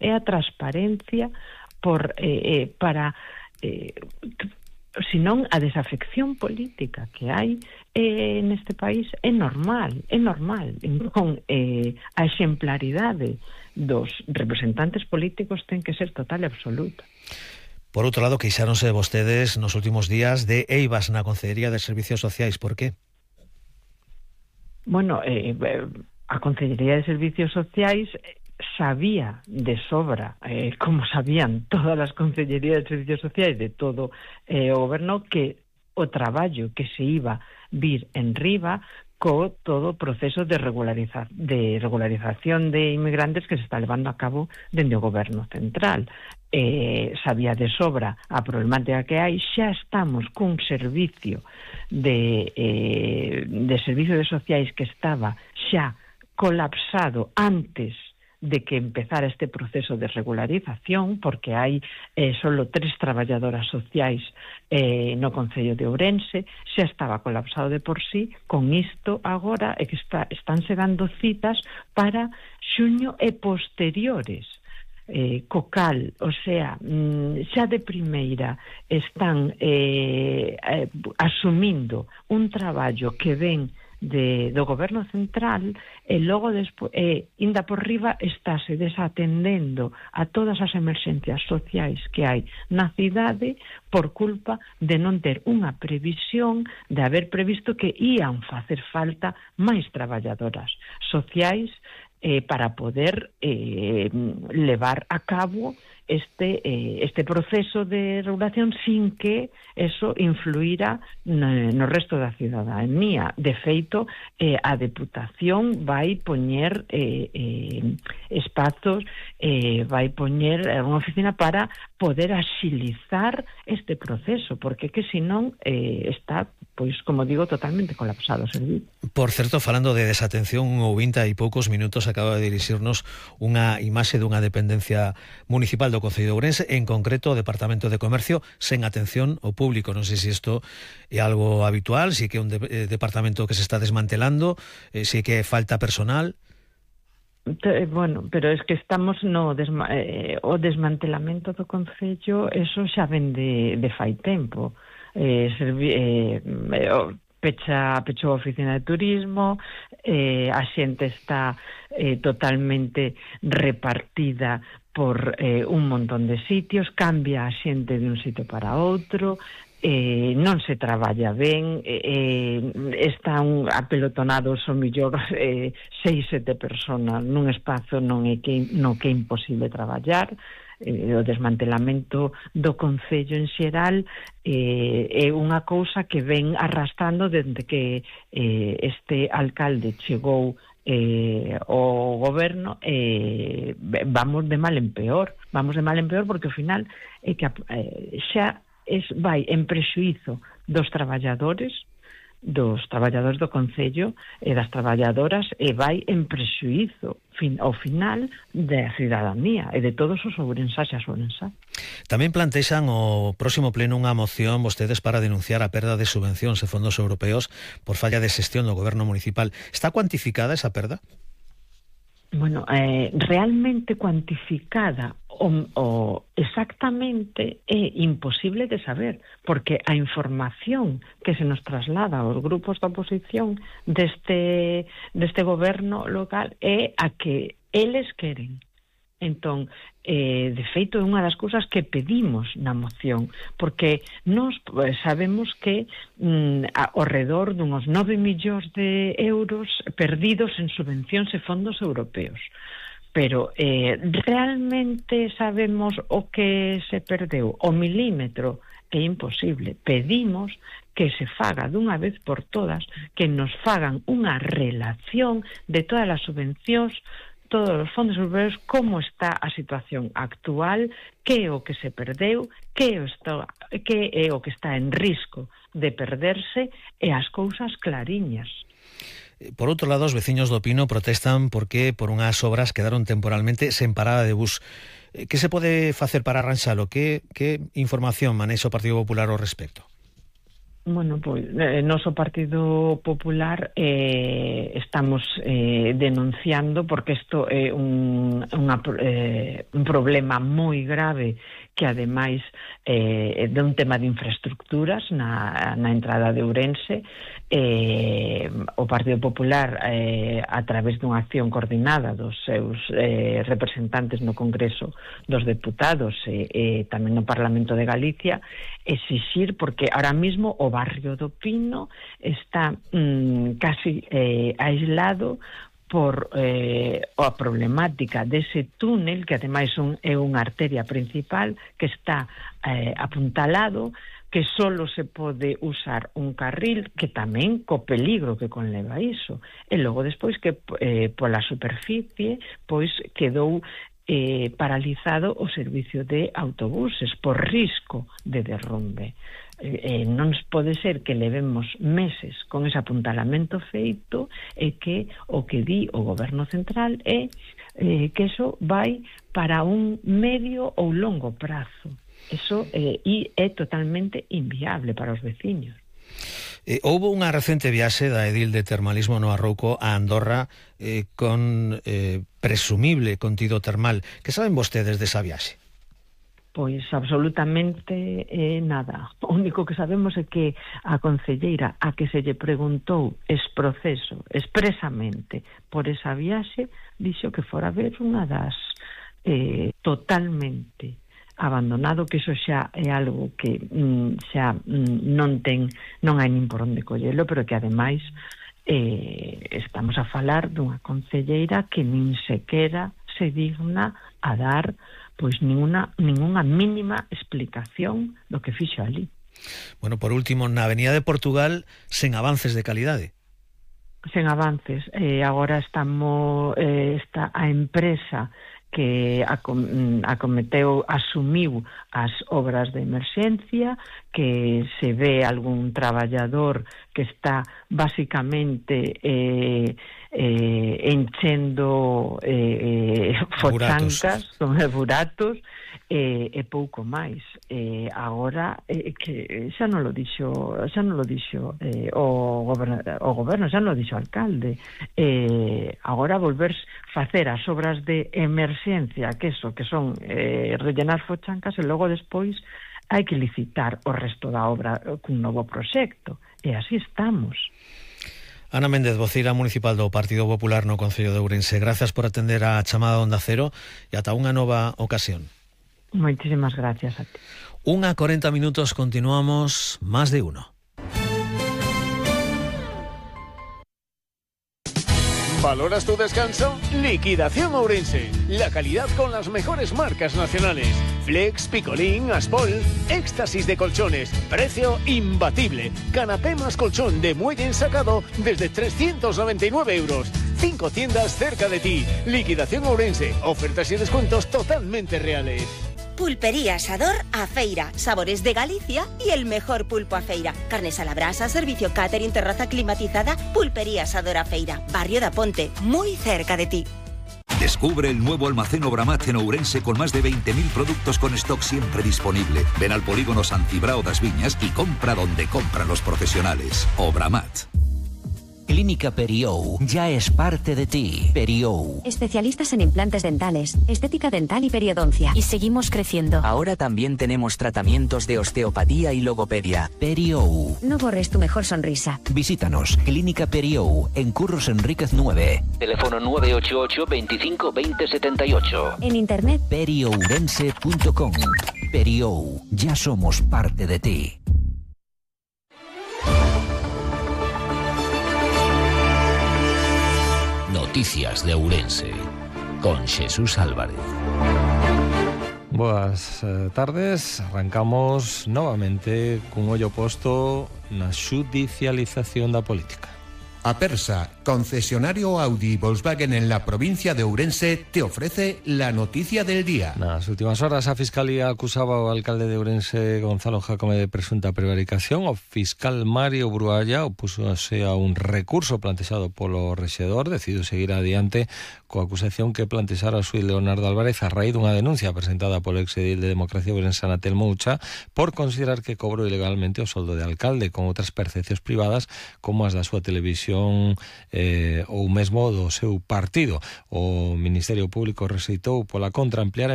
é a transparencia para senón a desafección política que hai neste país é normal. Entón, a exemplaridade dos representantes políticos ten que ser total e absoluta. Por outro lado, queixáronse vostedes nos últimos días de eivas na Consellería de Servicios Sociais. Por qué? Bueno, a Consellería de Servicios Sociais sabía de sobra, como sabían todas as Consellerías de Servicios Sociais de todo o goberno, que o traballo que se iba vir en riba co todo o proceso de regularización de inmigrantes que se está levando a cabo dende o goberno central. Sabía de sobra a problemática que hai. Xa estamos cun servicio de servicios sociais que estaba xa colapsado antes de que empezara este proceso de regularización, porque hai solo 3 traballadoras sociais no Concello de Ourense. Xa estaba colapsado de por sí. Con isto agora é que estánse dando citas para xuño e posteriores. Cocal, o sea, xa de primeira están asumindo un traballo que ven do goberno central e logo inda por riba estáse desatendendo a todas as emerxencias sociais que hai na cidade por culpa de non ter unha previsión, de haber previsto que ían facer falta máis traballadoras sociais para poder levar a cabo este proceso de regulación sin que eso influíra no resto da cidadanía. De feito, a Deputación vai poñer espazos, vai poñer unha oficina para poder axilizar este proceso, porque que senón está, pois, como digo, totalmente colapsado o servicio. Por certo, falando de desatención, un ouvinte hai poucos minutos acaba de dirixirnos unha imaxe dunha dependencia municipal do Concello de Ourense, en concreto o Departamento de Comercio, sen atención ao público. Non sei se isto é algo habitual, se que é un departamento que se está desmantelando, se que falta personal. Bueno, pero es que estamos o desmantelamento do Concello, eso xa ven de fai tempo. Pechou a oficina de turismo, a xente está totalmente repartida por un montón de sitios, cambia a xente de un sitio para outro, non se traballa ben, están apelotonados o millor 6-7 personas nun espazo no que é imposible traballar. O desmantelamento do Concello en xeral é unha cousa que ven arrastrando desde que este alcalde chegou o goberno. Vamos de mal en peor porque ao final é que xa vai en prexuízo dos traballadores do Concello e das traballadoras, e vai en prexuízo ao final da cidadanía e de todos os ourensás e as ourensás. Tamén plantexan o próximo pleno unha moción vostedes para denunciar a perda de subvencións e fondos europeos por falla de xestión do goberno municipal. Está cuantificada esa perda? Bueno, realmente cuantificada o exactamente é imposible de saber, porque a información que se nos traslada aos grupos da oposición deste goberno local é a que eles queren. Entón, de feito, é unha das cousas que pedimos na moción, porque nós sabemos que ao redor dunhos 9 millóns de euros perdidos en subvencións e fondos europeos. Pero realmente sabemos o que se perdeu? O milímetro é imposible. Pedimos que se faga dunha vez por todas, que nos fagan unha relación de todas as subvencións, todos os fondos europeos, como está a situación actual, que é o que se perdeu, que é o que está en risco de perderse, e as cousas clariñas. Por outro lado, os veciños do Pino protestan porque por unhas obras quedaron temporalmente sen parada de bus. Que se pode facer para arranxalo? Que información manexa o Partido Popular ao respecto? Bueno, pois noso Partido Popular estamos denunciando, porque isto é un problema moi grave, que ademais de un tema de infraestructuras na entrada de Ourense. O Partido Popular, a través dunha acción coordinada dos seus representantes no Congreso dos Deputados e tamén no Parlamento de Galicia, exixir, porque ahora mismo o barrio do Pino está casi aislado por a problemática dese túnel, que ademais é unha arteria principal que está apuntalado, que solo se pode usar un carril, que tamén co peligro que conleva iso. E logo despois que pola superficie pois quedou paralizado o servicio de autobuses por risco de derrumbe. Non pode ser que levemos meses con ese apuntalamento feito e que o que di o goberno central é que eso vai para un medio ou longo prazo. Eso é totalmente inviable para os veciños. Houbo unha recente viaxe da edil de termalismo no Arrouco a Andorra con presumible contido termal. Que saben vostedes desa viaxe? Pois absolutamente nada. O único que sabemos é que a concelleira a que se lle preguntou proceso expresamente por esa viaxe dixo que fora ver unha das totalmente abandonado, que iso xa é algo que xa non hai nin por onde collelo, pero que ademais estamos a falar dunha concelleira que nin sequera se digna a dar pois ningunha mínima explicación do que fixo ali. Bueno, por último, na Avenida de Portugal, sen avances de calidade. Sen avances. Agora está a empresa que asumiu as obras de emerxencia, que se ve algún traballador que está basicamente enchendo fochancas, buratos, e pouco máis. Agora que xa non lo dixo o goberno, xa non lo dixo o alcalde. Agora volver facer as obras de emerxencia, que son rellenar fochancas, e logo despois hai que licitar o resto da obra cun novo proxecto, e así estamos. Ana Méndez, voceira municipal do Partido Popular no Concello de Ourense, grazas por atender a chamada Onda Cero e ata unha nova ocasión. Moitísimas gracias a ti. 1:40 minutos, continuamos Más de Uno. ¿Valoras tu descanso? Liquidación Ourense. La calidad con las mejores marcas nacionales. Flex, Picolín, Aspol. Éxtasis de colchones. Precio imbatible. Canapé más colchón de muelle ensacado desde 399 euros. 5 tiendas cerca de ti. Liquidación Ourense. Ofertas y descuentos totalmente reales. Pulpería Asador a Feira, sabores de Galicia y el mejor pulpo a feira. Carnes a la brasa, servicio catering, terraza climatizada. Pulpería Asador a Feira, barrio da Ponte, muy cerca de ti. Descubre el nuevo almacén Obramat en Ourense con más de 20.000 productos con stock siempre disponible. Ven al polígono Sant Cibrao das Viñas y compra donde compran los profesionales. Obramat. Clínica Periou ya es parte de ti. Periou. Especialistas en implantes dentales, estética dental y periodoncia. Y seguimos creciendo. Ahora también tenemos tratamientos de osteopatía y logopedia. Periou. No borres tu mejor sonrisa. Visítanos. Clínica Periou en Curros Enríquez 9. Teléfono 988 25 20 78. En internet periourense.com. Periou. Ya somos parte de ti. Noticias de Ourense con Jesús Álvarez. Boas tardes, arrancamos novamente cun ollo posto na xudicialización da política. Apersa, concesionario Audi y Volkswagen en la provincia de Ourense, te ofrece la noticia del día. Nas últimas horas a Fiscalía acusaba ao alcalde de Ourense, Gonzalo Jácome, de presunta prevaricación. O fiscal Mario Brualla opúsose a un recurso plantexado polo rexedor, decidiu seguir adiante coa acusación que plantexara o xuíz Leonardo Álvarez a raíz dunha denuncia presentada polo exedil de Democracia ourensana Telmo Ucha por considerar que cobrou ilegalmente o soldo de alcalde con outras percepcións privadas como as da súa televisión ou mesmo do seu partido. O Ministerio Público rexeitou pola contra ampliar